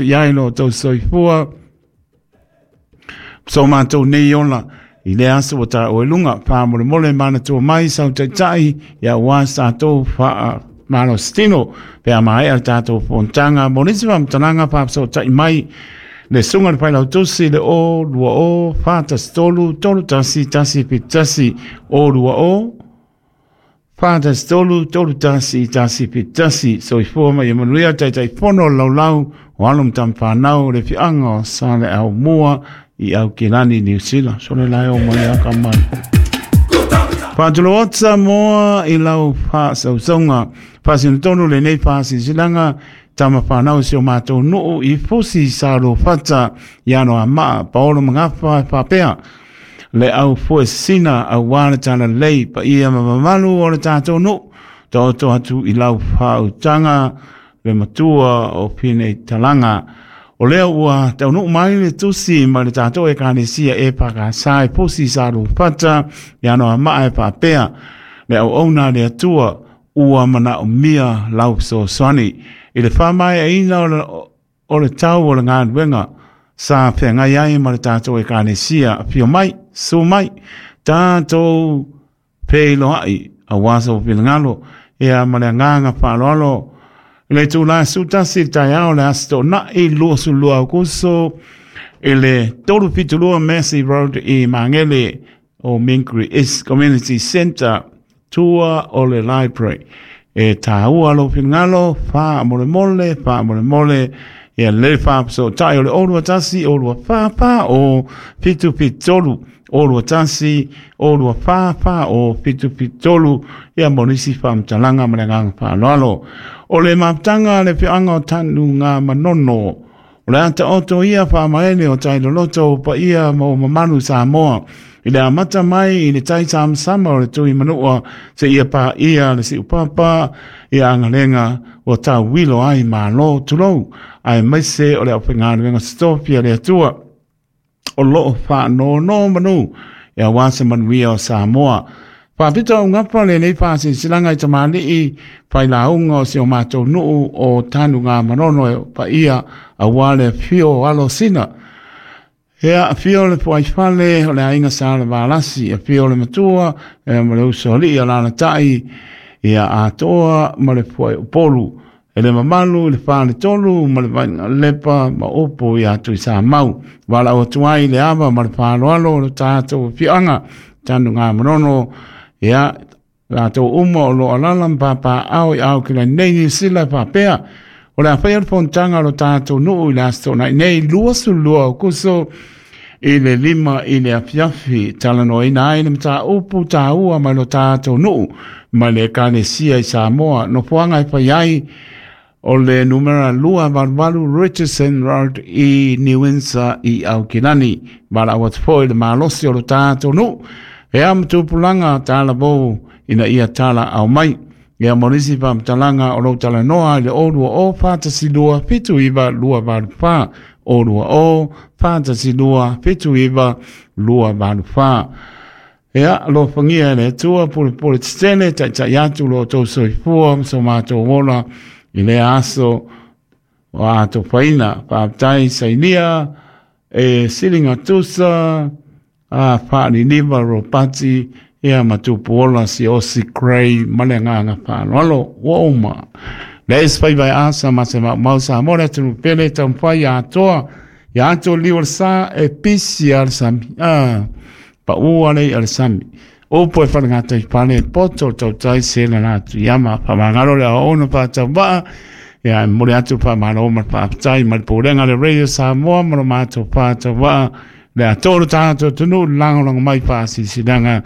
I ai lo outou soifua so matou nei ola i lea aso ua taua i luga. Faamolemole manatua mai sau taitai ia aua sa tatou faamalositino pe a maea le tatou fonotaga. Mo nisi faamatalaga, faafesootai mai le susuga i le Failautusi le 0 20 413 31 171, 020 413 31 171. Soifua ma ia manuia. Taitaifono o le Laulau o Alo ma Tamafanau o le Afioaga o Saleaaumua i Aukilani, Niu Sila. Sole la e o mai a ka mai. Faatulou atu Samoa i lau faasausauga. Faasinotonu lenei faasilasilaga tama whanau si o mātou nuu i Fusi sa Fata i ano a maa Paolo Magafa e faapea le au fuesina auā le talalelei paia ma mamalu o le tatou nuu. Taoto atu i lau faautaga le matua o Pinei Talaga. O lea ua taunuu mai le tusi ma le tatou Ekalesia e Pakasa e Pusi sa Fata i ano a maa e faapea le auauna a le Atua ua manaomia lau fesoasoani i le faamaeaina o le tau o le galuega sa feagai ai ma le tatou Ekalesia. Afio mai, susu mai, tatou feiloai aua sou finagalo ia ma le agaga faaaloalo i le itula e 11 i le taeao le Aso Toonai 22 Aokuso i le 372 Massey Road i Magele o Mingary East Community Centre, tua o le library. E tāua lou finagalo, faamolemole, faamolemole, ia lelei faafesootai o le 021 024 o 773, 021 024 o 773, ia mo nisi faamatalaga ma le agaga faaaloalo. O le mafutaga a le afioaga o Tanuga Manono, o le a taoto ia faamaene o tai loloto paia ma o mamalu Samoa i le amata mai i le tai samasama o le tui manua se ia pa ia le siu papa ia agalega ua tauilo ai malo tulou ae maise o le aufaigaluega totofi a le Atua o loo faanonomanu ia aua se manuia o Samoa. Faapito augapa lenei faasilasilaga i tamalii failauga o si o matou nuu o Tanuga Manono e paia aua le afio o alo sina. Ea afio le fuaifale o le aiga sa le Valasi, afio le matua e ma le usoalii a lalatai ia atoa ma le fuai upolu. E le mamalu i le faletolu ma le vaiga lepa ma upu ia Tuisamau. Valaau atu ai le ava ma le faaaloalo o le tatou afioaga Tanuga Manono ia latou uma o lo alala ma papaao i Aukilani nei Niu Sila e faapea o le a faia le fonotaga o lo tatou nuu i le Aso Toonai nei 22 Aokuso i le 5 i le afiafi, talanoaina ai le mataupu taua mai lo tatou nuu ma le Ekalesia i Samoa. Nofoaga e fai ai o le numera 288 Richardson Road i New Windsor i Aukilani. Valaau atu foi le malosi o lo tatou nuu e a matupulaga talavou ina ia tala ao mai. Ia mo nisi faamatalaga o lou talanoa i le 020 412 79 284, 020 412 79 284. Ia, alofagia e le Atua pulepule tetele taitai atu lo outou soifua ma so matou ola i lea aso o atofaina. Faafetai sainia e silinga tusa a faaliliva Ropati ia ma Tupuola Siaosi Gray ma le agaga faaaloalo ua uma. Le isi faiva e asa ma se maumau Samoa le atunuu pele taumafai atoa ia ato liu o le sa e pisi a le sami. Paua le ia le sami. Upu e whalangatai fale poto tautai se la atu iama whamangalo le aono whātauvaa ia e mole atu whamalo ma whaaftai ma le pūrenga le Radio Samoa ma lo mātou whātauvaa le atoa tātou tunu langolanga mai whaasisilaga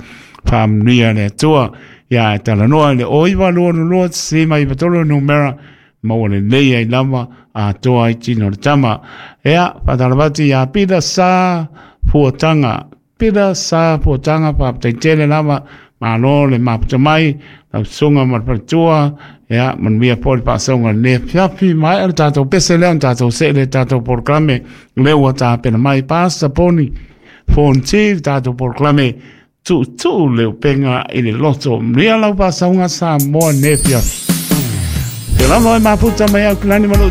whaamanuia le Atua ia e talanoa i le 09 22 sima i tolu numera maua lelei ai lava atoa ai tino o le tama. Ea, whātalavati ia Pita sa fuatanga. Pita sa fuatanga whaaptai tele lava malo le maputa mai lau susuga ma le faletua ia manuia foi le faasauga le fiafi mai le tatou pese lea ona tatou see le tatou polokalame lea ua tapena mai Pasta Poni Fonti le tatou polokalame tuutuu le upega i le loto. Manuia lau faasauga Samoa ne fiafi. Te lava e mafuta mai au kilani ma lou.